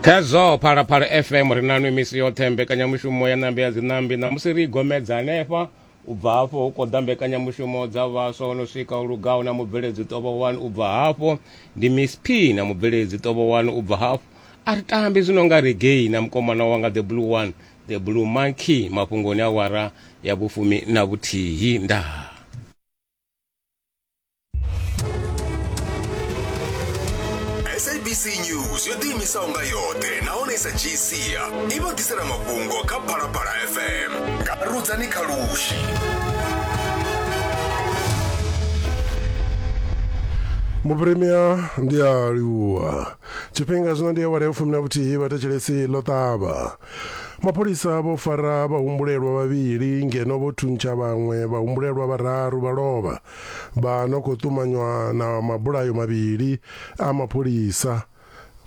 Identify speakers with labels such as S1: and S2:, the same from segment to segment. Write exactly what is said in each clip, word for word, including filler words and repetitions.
S1: Khezwo Phalaphala F M ri na nwi misi yoṱhe mbekanyamushumo ya ṋambi ya dzinambi ṋamusi ri gomedza hanefha u bva hafho hu khou ḓa mbekanyamushumo dza vhaswa no swika u lugaho na mubveledzi Ṱovho one u bva hafho ndi Miss P na mubveledzi Ṱovho one u bva hafho a ri tambi zwino nga reggae na mukomana wanga The Blue One The Blue Monkey mafhungoni awara ya vhufumi na vhuthihi ndaa.
S2: S A B C News yo ḓiimisaho nga yoṱhe nahone i sa dzhii sia i vha ḓisela mafhungo kha Phalaphala F M nga Rudzani Khalushi.
S3: Muprimia ndi a livhuwa. Tshifhinga zwino ndi awara ya fumi na vhuthihi vhathetshelesi ḽo ṱavha. Mapholisa vho fara vhahumbulelwa vhavhili ngeno vho thuntsha vhaṅwe vhahumbulelwa vhararu vha lovha vha no khou ṱumanywa na mabulayo mavhili a mapholisa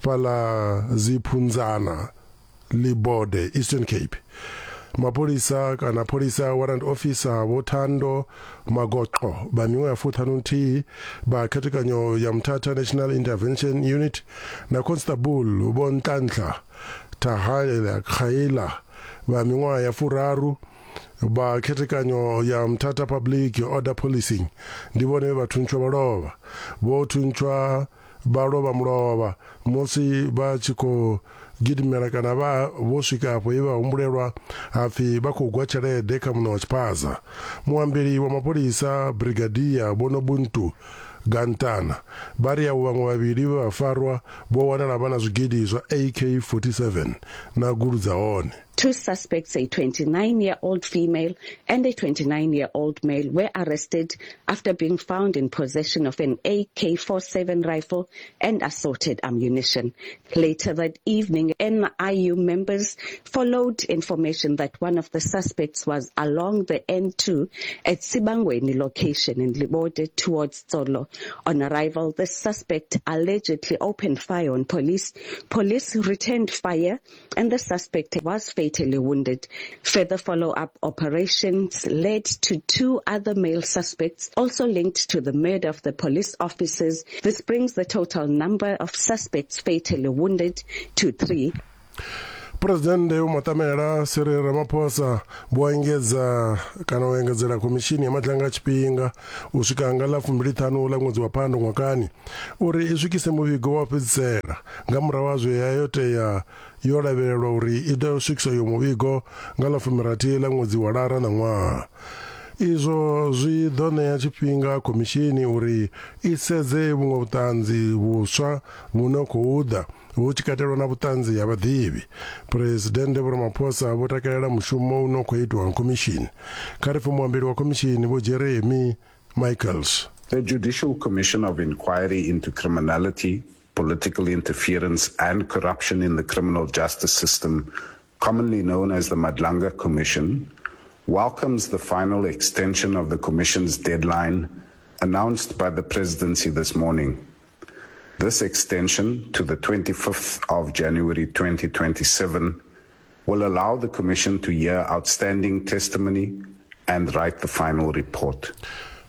S3: fhaḽa Ziphunzana Libode Eastern Cape. Mapholisa kana pholisa warrant officer Vho Thando Magoqo vha miṅwaha ya fuṱhanu nthihi vha khethekanyo ya Mthatha National Intervention Unit na Constable Vho Nhlanhla Thahala Khaila vha miṅwaha ya furaru vha khethekanyo ya Mthatha Public Order Policing ndi vhone vha thuntshwa vha lovha. Vho thuntshwa vha lovha mulovha musi vha tshi khou gidimela kana vha vho swika afho ye vha humbulelwa hapfi vha khou gwa tshelede kha muṋe wa tshiphaza. Muambeli wa mapholisa Brigadier Vho Nobuntu Gantana vha ri avho vhaṅwe vhavhili vhe vha farwa vho wanala vha na zwigidi zwa A K forty-seven na gulu dza hone.
S4: Two suspects, a twenty-nine-year-old female and a twenty-nine-year-old male, were arrested after being found in possession of an A K forty-seven rifle and assorted ammunition. Later that evening, N I U members followed information that one of the suspects was along the N two at Sibangweni location in Libode towards Tsolo. On arrival, the suspect allegedly opened fire on police. Police returned fire and the suspect was fatally wounded. Further follow-up operations led to two other male suspects also linked to the murder of the police officers. This brings the total number of suspects fatally wounded to three.
S3: President Vho Matamela Cyril Ramaphosa vho engedza kana u engedzela khomishini ya Madlanga tshifhinga u swika nga ḽa fumbili ṱhanu ḽa ṅwedzi wa Phando ṅwakani uri i swikise muvhigo wa fhedzisela nga murahu ha zwe ya yo tea yo lavhelelwa uri i ḓo swikisa yo muvhigo nga ḽa fumirathi ḽa ṅwedzi wa Lara ṋaṅwaha. Izwo zwi ḓo ṋea tshifhinga khomishini uri i sedze vhuṅwe vhuṱanzi vhuswa vhu no khou ḓa hu tshi katelwa na vhuṱanzi ha vhaḓivhi. Presidennde Vho Ramaphosa vho takalela mushumo u no khou itwa nga khomishini. Kha ri pfe muambeli wa khomishini Vho Jeremy Michaels.
S5: The Judicial Commission of Inquiry into Criminality, Political Interference and Corruption in the Criminal Justice System, commonly known as the Madlanga Commission, welcomes the final extension of the Commission's deadline announced by the Presidency this morning. This extension to the twenty-fifth of January twenty twenty-seven will allow the Commission to hear outstanding testimony and write the final report.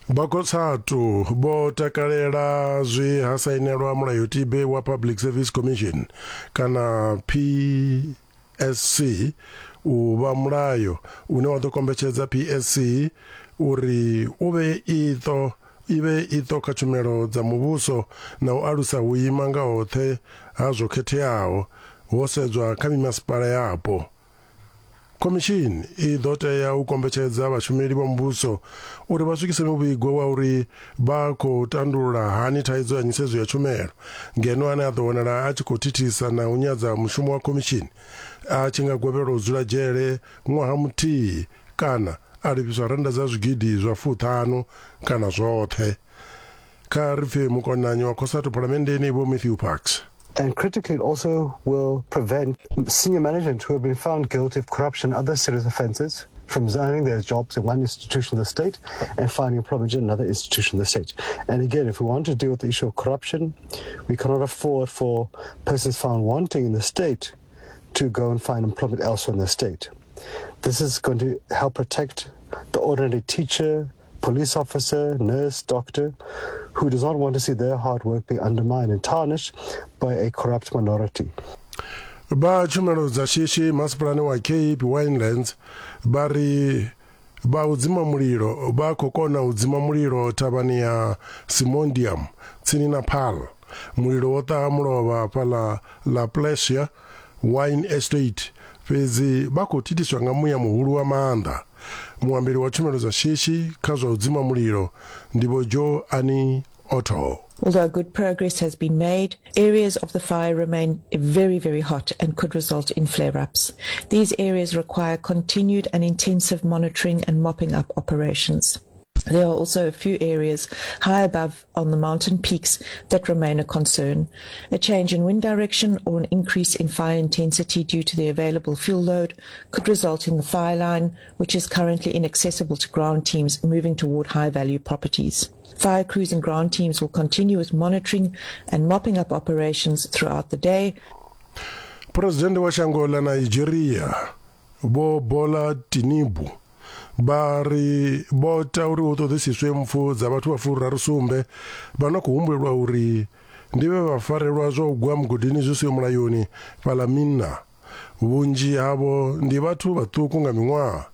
S3: Vha vho takalela zwe ha sainelwa mulayotibe wa Public Service Commission kana P S C u vha mulayo une wa ḓo kombetshedza P S C uri u vhe iṱo ive iṱo kha tshumelo dza muvhuso na u alusa vhuima nga hoṱhe ha zwo khetheaho ho sedzwa kha mimasipala yapo. Khomishini i ḓo tea u kombetshedza vhashumeli vha muvhuso uri vha swikise muvhigo wa uri vha khou tandulula hani thaidzo ya nyisedzo ya tshumelo ngeno ane a ḓo wanala a tshi khou thithisa na u nyadza mushumo wa khomishini a tshi nga gwevhelwa u dzula dzhele ṅwaha muthihi kana a lifhiswa rannda dza zwigidi zwa fuṱhanu kana zwoṱhe. Kha ri pfe mukonanyi wa COSATU phalamenndeni Vho Matthew Parks.
S6: And critically, it also will prevent senior management who have been found guilty of corruption and other serious offences from resigning their jobs in one institution of the state and finding employment in another institution of the state. And again, if we want to deal with the issue of corruption, we cannot afford for persons found wanting in the state to go and find employment elsewhere in the state. This is going to help protect the ordinary teacher, police officer, nurse, doctor, who does not want to see their hard work be undermined and tarnished by a corrupt minority.
S3: Vha tshumelo dza shishi masipalani wa Cape Winelands vha ri vha u dzima mulilo vha khou kona u dzima mulilo thavhani ya Simondium tsini na Paarl. Mulilo wo ṱaha mulovha fhaḽa La Plesia Wine Estate, fhedzi vha khou thithiswa nga muya muhulu wa maanḓa. Muambeli wa tshumelo dza shishi kha zwa u dzima mulilo ndi Vho Joe Annie Otto.
S7: Although good progress has been made, areas of the fire remain very, very hot and could result in flare-ups. These areas require continued and intensive monitoring and mopping up operations. There are also a few areas high above on the mountain peaks that remain a concern. A change in wind direction or an increase in fire intensity due to the available fuel load could result in the fire line, which is currently inaccessible to ground teams moving toward high-value properties. Fire crews and ground teams will continue with monitoring and mopping up operations throughout the day.
S3: President wa shango ḽa Nigeria Vho Bola Tinubu vha ri vho ta uri hu ṱoḓisiswe mpfu dza vhathu vha furaru sumbe vha no khou humbulelwa uri ndi vhe vha farelwa zwa u gwa mugodini zwi siho mulayoni fhaḽa Minna. Vhunzhi havho ndi vhathu vhaṱuku nga miṅwaha.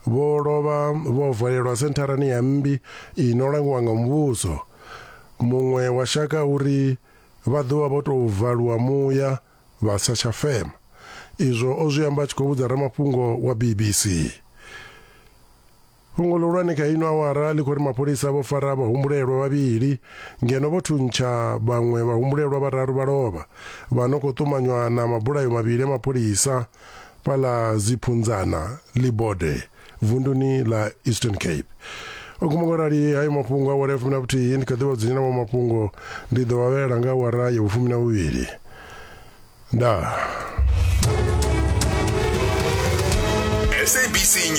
S3: Vho lovha vho valelwa sentharani ya mmbi ino langiwa nga muvhuso. Muṅwe wa shaka uri vha ḓo vha vho tou valwa muya vha sa tsha fema. Izwo o zwi amba a tshi khou vhudza ramafhungo wa B B C. Fhungo ḽihulwane kha ino awara ḽi khou ri mapholisa vho fara vhahumbulelwa vhavhili ngeno vho thuntsha vhaṅwe vhahumbulelwa vhararu vha lovha vha no khou ṱumanywa na mabulayo mavhili a mapholisa fhaḽa Ziphunzana Libode vunduni ḽa Eastern Cape. O guma ngorali hayo mafhungo awara ya fumi na vhuthihi ndi kha ḓi vha dzudzanyela maṅwe mafhungo ndi ḓo vhavhelela nga awara ya vhufumi na vhuvhili. Ndaa.
S2: S A B C News.